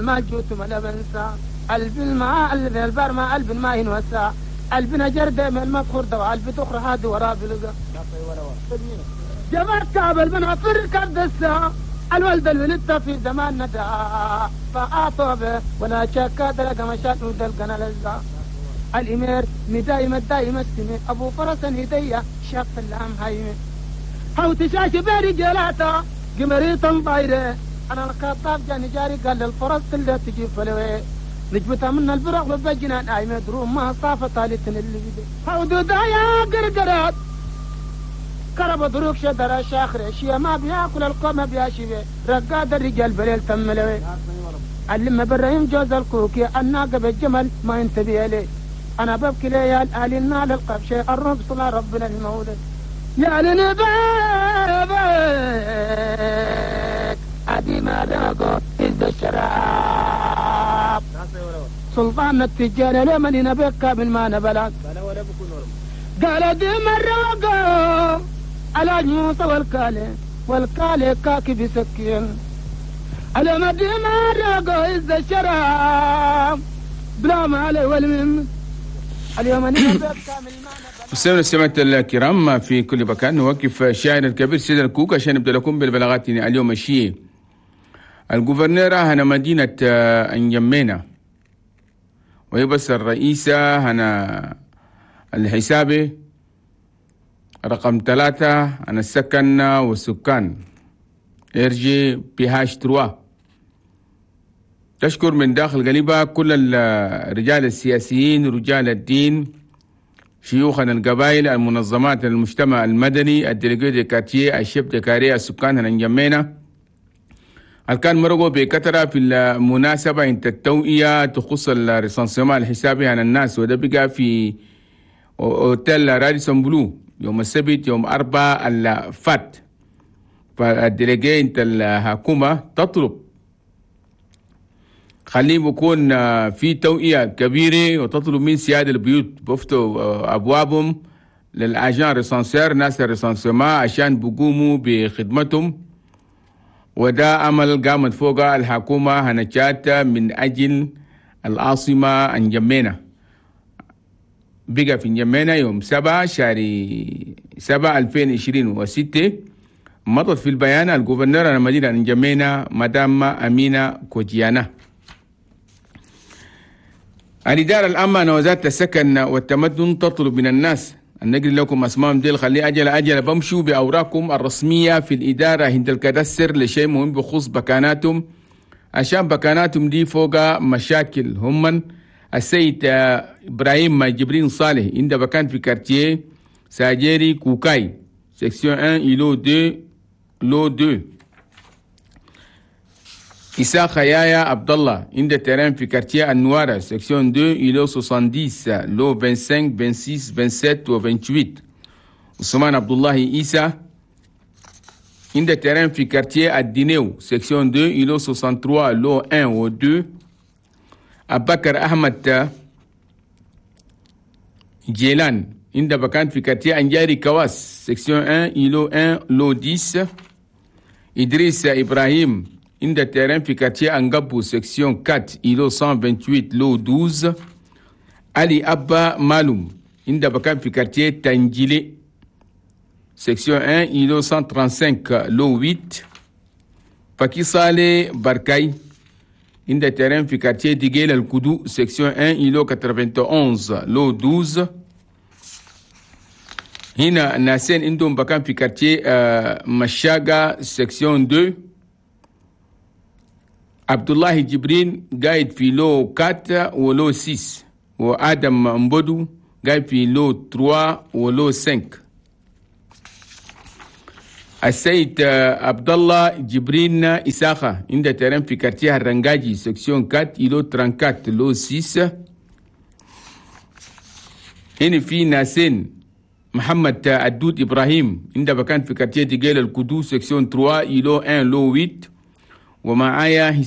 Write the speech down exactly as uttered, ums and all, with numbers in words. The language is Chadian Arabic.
المال جوت ما بنسى قلب الماء قلب البر ما قلب الماء ينوسع قلبنا جردة من المدخور ده قلب تخر هادي وراه بلقى جبرت كعب البنافر كردسة الولد الولدت في زمان ندى فأعطوا به ولا شك دلق مشات ودلقنا لزا الإمير مدايم الدايم السمي أبو فرس هدية شاف اللام هايمي حوت شاش بيري جلاتا قمريطا طايرة أنا الخطاب جاني جاري قال للفرس اللي تجيب فلوي نجبتها من البرق وبجنان آيمة دروم ما صافة طالتن اللي بدي حودو دايا قرقرات كرب دروك شدر شاخر شيا ما بياكل القوم بياشي رقاد الرجال بليل تملوي علم برايم جوز الكوكي الناقة بالجمل ما ينتبه لي أنا ببكي ليال آل النال القبشة الرب صلى ربنا المولد يا لنبابك أدي ما ذاقو إذ الشراب سلطان التجار لمن نبكى من ما نبلغ قال دي مرة على موسى والكالي والكالي كاكي بسكين على ما دي مرة إذ الشراب بلا ما علي والمم اليوم نبكى من ما نبلغ. مستمعينا السماعة الكرام في كل مكان، نوقف الشاعر الكبير سيد الكوك عشان نبدا لكم بالبلاغات اليوم الشيء. ال gouverneur هنا مدينة انجمينا وهي بس الرئيسة هنا الحسابي رقم ثلاثة هنا السكن والسكان RGPH trois. تشكر من داخل قلبها كل الرجال السياسيين، رجال الدين، شيوخنا القبائل، المنظمات، المجتمع المدني، ال délégués de quartier، ال chefs de carré، السكان هنا انجمينا كان مرقوا بكثرة في المناسبة انت التوعية تخص ال recensement الحسابي عن الناس، وده بقى في اوتيل راديسون بلو يوم السبت يوم أربعة الفات. فال déléguée انت الحكومة تطلب خليه بيكون في توعية كبيرة وتطلب من سيادة البيوت بفتوا أبوابهم لل agents recenseurs ناس ال recensement عشان بيقوموا بخدمتهم، وده عمل قامت فوق الحكومة هنجات من أجل العاصمة انجمينا. بقى في انجمينا يوم سبعة شهر سبعة ألفين وعشرين وستة. مضت في البيان ال gouverneur المدينة انجمينا مدام أمينة كوجيانا. الإدارة العامة وزارة السكن والتمدن تطلب من الناس أن نقري لكم أسمائهم ديل، خلي أجل أجل بمشوا بأوراقكم الرسمية في الإدارة عند ال cadastre لشيء مهم بخصوص بكاناتهم، عشان بكاناتهم دي فوق مشاكل. هم السيد إبراهيم جبرين صالح عند بكان في quartier ساجيري كوكاي section واحد îlot اثنين lot اثنين. إساء خيايا عبد الله عند terrain في quartier النوارة section اثنين îlot سبعين lot خمسة وعشرين ستة وعشرين سبعة وعشرين و ثمانية وعشرين. عثمان عبد الله إيسا عند terrain في quartier الدينيو section اثنين îlot ثلاثة وستين lot واحد و اثنين. أبكر أحمد جيلان عند بكان في quartier أنجاري كواس section واحد îlot واحد lot عشرة. إدريس إبراهيم عند terrain في quartier أنقبو section أربعة îlot مية وثمانية وعشرين lot اثنا عشر. علي أبا مالوم عند بكان في quartier تنجيلي section واحد îlot مية وخمسة وثلاثين lot ثمانية. فكي صالي بركاي عند terrain في quartier ديجيل الكدو section واحد îlot واحد وثمانين lot اثنا عشر. هنا ناسين عندهم بكان في quartier مشاقة section اثنين. عبد الله جبرين قاعد في lot أربعة و lot ستة، وآدم مبدو قاعد في lot ثلاثة و lot خمسة. السيد عبد الله جبرين إساخة عند terrain في quartier الرنجاجي section أربعة îlot أربعة وثلاثين lot ستة. هنا في ناسين محمد الدود إبراهيم عند بكان في quartier ديجيل الكدو section ثلاثة îlot واحد lot ثمانية. ومعايا